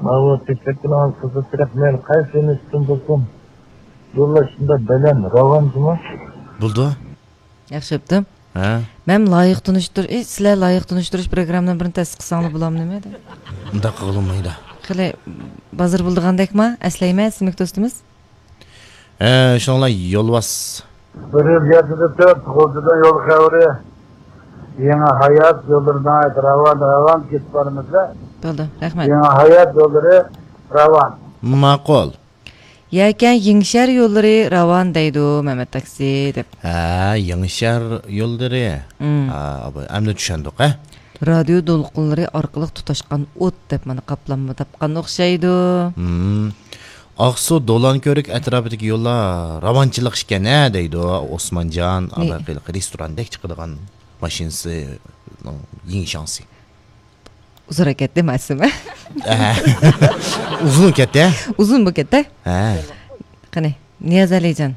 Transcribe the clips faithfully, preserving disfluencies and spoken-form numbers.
ماۋۇ تەكلىپىڭىز قىزىق تېرەپ مەن قايسى يۆنىلىشتىن بولسۇن، يوللاشىمدا بەلەن راۋان جۇمۇ. بولدى. ياخشى بوپتۇ. ھە. مەن لايىق تونۇشتۇر-، ئى، سىلەر لايىق تونۇشتۇرۇش پروگراممىنىڭ بىرىنى تەسىس قىلساڭلار بولامدۇ نېمە؟ ئۇنداق قىلغىلى بولمايدۇ. خېلى بازىر بولىدىغاندەكما؟ ئەسلەيمەن، ئىسمىك دوستىمىز. ھە، شۇنىڭ بىلەن يولۋاس. بىر يىل ياتىدۇ تۆت، غۇلجىدىن يول خەۋىرى. يېڭى ھايات يوللىرىدا راۋان، راۋان كېتىپ بارىمىزدا. بولدى، رەھمەت. يېڭى ھايات يوللىرى راۋان. ماقۇل. يەكەن يېڭىشەھەر يوللىرى راۋان دەيدۇ، مەمەت تاكسى دەپ. ھە، يېڭىشەھەر يوللىرى. مم. ھە، ئەمدى چۈشەندۇق، ھە؟ رادىيو دولقۇنلىرى ئارقىلىق تۇتاشقان ئوت دەپ مانا قاپلانما تاپقان ئوخشايدۇ. مم. ئاقسۇ، دولانكۆۋرۈك ئەتراپىدىكى يوللار راۋانچىلىق ئىكەن ھە دەيدۇ ئوسمانجان. نى- ئاۋۋال ھېلىقى رېستوراندا كىچىك قىلىدىغان ماشىنىسىنىڭ يېڭى شانسى. ئۇزۇنراق كەتتى مەسىمە. ئەھە. ئۇزۇن كەتتى ھە؟ ئۇزۇن بولۇپ كەتتى. ھە. قېنى، نىياز ئەلىجان.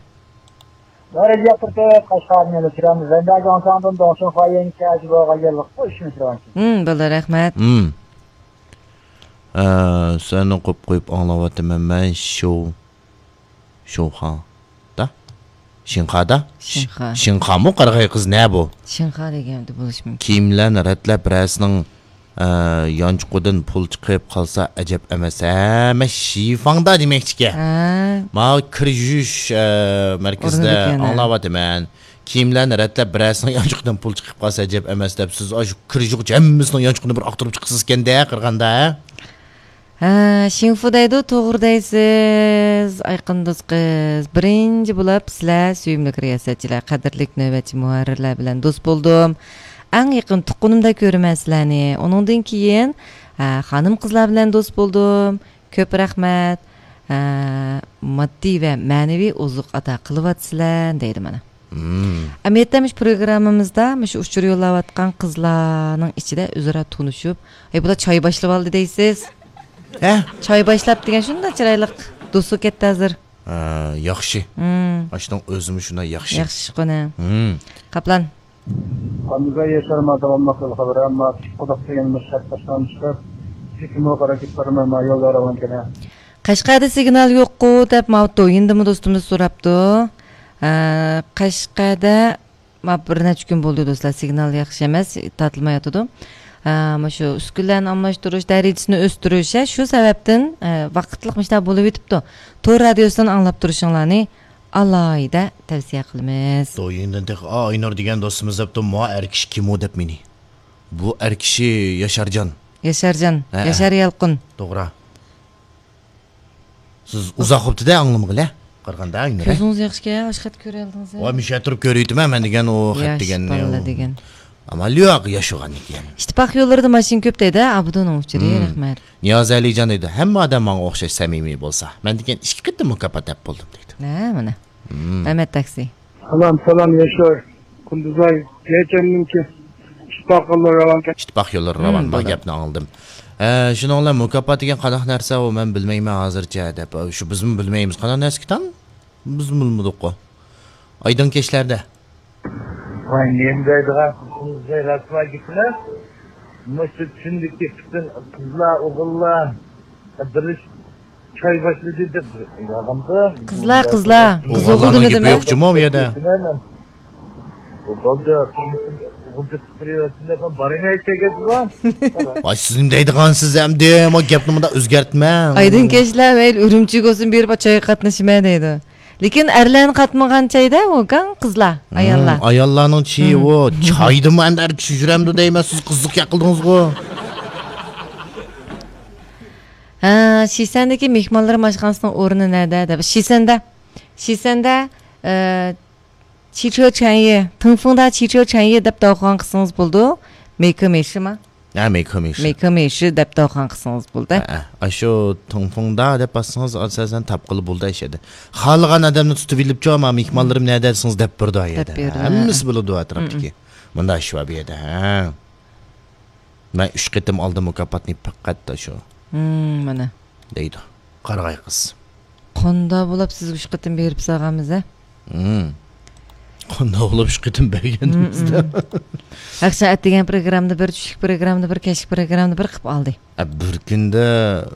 ھىم، بولدى، رەھمەت. ھىم. ئە، سەن ئوقۇپ قويۇپ ئاڭلاۋاتىمەن مەن، شو، شوخا. دا؟ شىنخادا؟ شىنخا. شىنخامۇ قارىغاي قىز نە بۇ؟ شىنخا دېگەن بولۇشى مۇمكىن. كىيىملەرنى رەتلەپ بىرەرسىنىڭ، ئە، يانچۇقىدىن پۇل چىقىپ قالسا ئەجەب ئەمەس ھە؟ مەن شىفاڭدا دېمەكچىكەن. ھە. ماۋۇ كىر يۇيۇش، ئە، مەركىزىدە ئورنىدىكەن، ھە. ئاڭلاۋاتىمەن. كىيىملەرنى رەتلەپ بىرەرسىنىڭ يانچۇقىدىن پۇل چىقىپ قالسا ئەجەب ئەمەس دەپ سىز ئاشۇ كىر يۇيغۇچە ھەممىسىنىڭ يانچۇقىنى بىر ئاختۇرۇپ چىقىسىزكەندە قارىغاندا ھە؟ ھە، شىنفۇ دەيدۇ، توغرا دەيسىز، ئايقىن دوست قىز. بىرىنچى بولۇپ سىلەر سۆيۈملۈك رىياسەتچىلەر، قەدىرلىك نۆۋەتچى مۇھەررىرلەر بىلەن دوست بولدۇم. ئەڭ يېقىن تۇغقىنىمدەك كۆرىمەن سىلەرنى. ئۇنىڭدىن كېيىن، ھە، خانىم قىزلار بىلەن دوست بولدۇم. كۆپ رەھمەت. ھە، ماددىي ۋە مەنىۋى ئوزۇق ئاتا قىلىۋاتىسىلەر دەيدۇ مانا. مم. ئەمەلىيەتتە مۇشۇ پروگراممىمىزدا مۇشۇ ئۇچۇر يوللاۋاتقان قىزلارنىڭ ئىچىدە ئۆزئارا تونۇشۇپ، ھەي، بۇلار چاي باشلىۋالدى دەيسىز. ھە؟ چاي باشلاپ دېگەن شۇنداق چىرايلىق دوست بولۇپ كەتتى ھازىر. ھە، ياخشى. مم. ئاشۇنىڭ ئۆزىمۇ شۇنداق ياخشى. ياخشى قونا. مم. قاپلان. قاندىزاي ياشار ما داۋاملىق يول خەۋىرى، ئەمما قۇدۇق دېگەن مۇشەت باشلانمىشتۇر. چېكىمۇ قارا كېتىپ بارىمەن، ما يولدا راۋان كېلە. قەشقەردە سىگنال يوققۇ دەپ ماۋۇ دويىندىمۇ دوستىمىز سوراپتۇ. ھە، قەشقەردە ما بىر نەچچە كۈن بولدى دوستلار، سىگنال ياخشى ئەمەس، تارتىلمايۋاتىدۇ. ھە، مۇشۇ ئۈسكۈنىلەرنى ئالماشتۇرۇش، دەرىجىسىنى ئۆستۈرۈش، ھە، شۇ سەۋەبتىن، ھە، ۋاقىتلىق مۇشۇنداق بولۇۋېتىپتۇ. تور رادىيوسىدىن ئاڭلاپ تۇرۇشۇڭلارنى ئالاھىدە تەۋسىيە قىلىمىز. دويىندىن تېخى، ئا، ئاينۇر دېگەن دوستىمىز دەپتۇ، ما ئەر كىشى كىمۇ دەپ مېنى. بۇ ئەر كىشى ياشارجان. ياشارجان، ھەئە. ياشار يالقۇن. توغرا. سىز ئۇزاق بوپتۇ-دە ئاڭلىمىغىلى. قارىغاندا ئاينۇر. كۆزىڭىز ياخشىكەن، ئاشۇ خەت كۆرەلىدىڭىز. ۋاي، مۇشۇ ئەتراپ كۆرۈۋېتىمەن مەن دېگەن ئۇ خەت ياش دېگەننى. بالىلار دېگەن. ئەمما لياغا ياشىغان ئىكەن. ئىتتىپاق يوللىرىدا ماشىنا كۆپ دەيدۇ، ئابدۇنىڭ ئۇچۇرى، مم. رەھمەت. نىياز ئەلىجان دەيدۇ، ھەممە ئادەم ماڭا ئوخشاش سەمىمىي بولسا. مەن دېگەن ئىككى قېتىم مۇكاپات دەپ بولدۇم دەيدۇ. ھە، مانا. مم. مەمەت تاكسى. سالام، سالام، ياشار. قۇندۇزاي، يەچەننىڭكى ئىتتىپاق يوللىرى راۋانكەن. ئىتتىپاق يوللىرى راۋان، مم، ما بولدى. گەپنى ئاڭلىدىم. ئە، شۇنىڭ بىلەن مۇكاپات دېگەن قانداق نەرسە ئۇ، مەن بىلمەيمەن ھازىرچە دەپ، شۇ بىزمۇ بىلمەيمىز قانداق نەرسىكىن. بىزمۇ بىلمىدۇققۇ. ئايدىڭ كەچلەردە. ۋاي، نېمە دەيدىغان قىزىڭىزغا رەسۋا گېپىلەر. مۇشۇ چىندىكى پۈتۈن قىزلار، ئوغۇللار بىرلىشىپ چاي باشلىدى دەپ يالغاندا. قىزلار، قىزلار. قىز ئوغۇلنىڭ گېپى يوق جۇمۇ بۇ يەردە. بولدى. ئوغۇلچە قىزلار بارىمەن ئېيتىپ كەتتى. ۋاي، سىز نېمە دەيدىغانسىز ئەمدى؟ ما گەپنى مۇنداق ئۆزگەرتمەڭ. ئايدىڭ كەچلەر، مەيلى ئۈرۈمچىگە بولسۇن، بېرىپ چايغا قاتنىشىمەن دەيدۇ. لېكىن ئەرلەرنى قاتمىغان چايدا ئۇ كاڭ قىزلار، ھىم، ئاياللار. ئاياللارنىڭ چېيى ھىم. ئۇ چايدىمۇ ئەمدى ئەر چۈشۈرەمدۇ دەيمەن، سىز قىزىق گەپ قىلدىڭىزغۇ. ھە، شىسەندىكى مېھمانلىرىم ئاشخانىسىنىڭ ئورنى نەدە دەپ. شىسەندە، شىسەندە، ئە، چىچو چەنيى، تىڭفېڭدا چىچو چەنيى دەپ داۋخان قىلسىڭىز بولىدۇ. مېيكو مېيشىما؟ ھە، مېيكو مېيشى. مېيكو مېيشى دەپ داۋخان قىلسىڭىز بولدى. ھە، ھە. ئاشۇ تىڭفېڭدا دەپ باسسىڭىز، ئاساسەن تاپقىلى بولىدۇ ئاشۇ يەردە. خالىغان ئادەمنى تۇتۇپ ئېلىپچۇ، ما مېھمانلىرىم نەدە دېسىڭىز دەپ بېرىدۇ ئا يەردە. دەپ بېرىدۇ، ھە. ھەممىسى بىلىدۇ ئەتراپتىكى. مم. مۇنداق ئىش بار بۇ يەردە، ھە. مەن ئۈچ قېتىم ئالدىم مۇكاپاتنى پەقەت ئاشۇ. مم، مانا. دەيدۇ. قارىغاي قىز. قاندا بولاپ سىزگە ئۈچ قېتىم بېرىپ سالغانمىز، ھە؟ ھىم. قاندا بولاپ ئۈچ قېتىم بەرگەنمىز-دە. ھىم، ھىم. ھەق سائەت دېگەن پروگراممىدا بىر، چۈشلۈك پروگراممىدا بىر، كەچلىك پروگراممىدا بىر قىلىپ ئالدى. ئە، بىر كۈندە